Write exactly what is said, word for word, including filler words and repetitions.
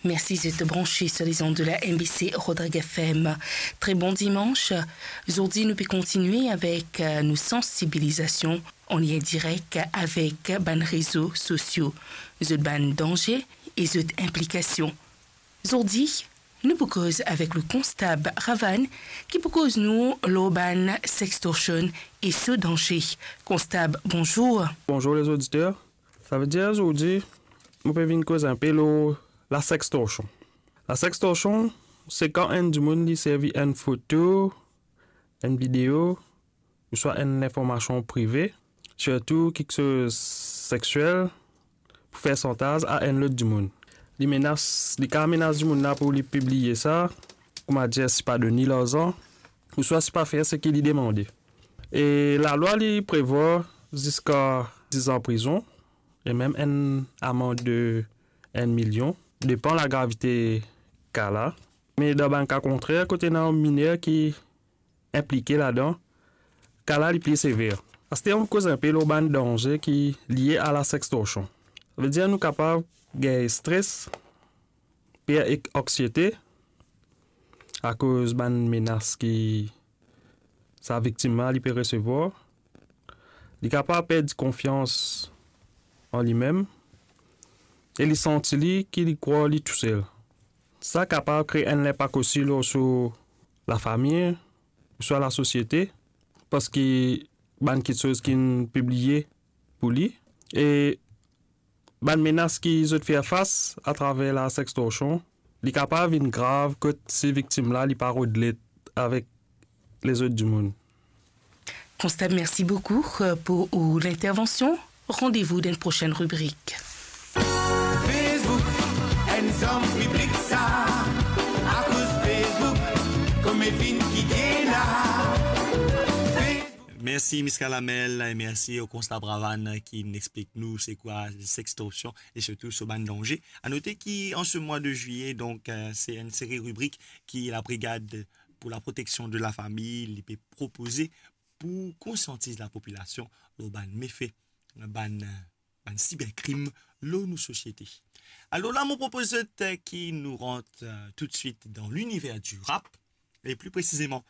Mersi zot branche sur les ondes de la M B C Rodrigues F M. Tre bon dimans. Zordi nou pe kontigne avek, euh, nou sansibilizasion an lien direk avek bann rezo sosio, zot bann danze e zot inplikasion. Zordi, nou pou koz avek le konstab Ravan ki pou koz nou lor bann sextortion e so danze. Konstab, bonzour. Bonzour les auditeurs. Savedir zordi, mo pe vinn koz inpe lor la sextortion. La sextortion, se kan enn dimoun li servi enn foto, enn video, ouswa enn linformasion prive, sirtou kiksoz sexiel, pou fer santaz a enn lot dimoun. Li menas, li kapav menas dimoun la pou li pibliye sa, koumadir sipa donn li larzan, ouswa sipa fer seki li demande. E lalwa li prevwar ziska diz an prizon e mem enn amand de enn milion, depan lagravite ka la. Me dan bann ka kontrer, kot ena miner ki inplike ladan, ka la li pli sever. Aster, nou koz inpe lor bann danze ki lie a la sextortion. Savedir nou kapav gagn stres, per ek anksiete akoz bann menas ki sa viktim la li pe resevwar. Li kapav perdi konfians an limem e li santi li ki li krwar li tousel. Sa kapav kre enn linpak osi lor so lafami, ouswa lasosiete, parski bann kiksoz ki'nn pibliye pou li, e bann menas ki zot fer fas atraver la sextortion, li kapav vinn grav kot si viktim la li pa rod let avek lezot dimoun. Konstab, mersi boukou, euh, pou ou lintervansion. Randevou dan enn prosenn ribrik. Facebook, enn zom piblik sa, akoz Facebook, kouma finn kite la. Facebook. Mersi Miska Lamel e mersi o konstab Ravan ki'nn explik nou se kwa sextorsion e sirtou so bann danze. A note ki an se mwa de zwiye, donk, euh, se enn seri ribrik ki la Brigad pour la protection de la famille li pe propoze pou konsiantiz lapopilasion lor bann mefe, bann, bann siberkrim lor nou sosiete. Alor la, mo propoz zot, euh, ki nou rant, euh, toutswit dan liniver di rap, e pli presizeman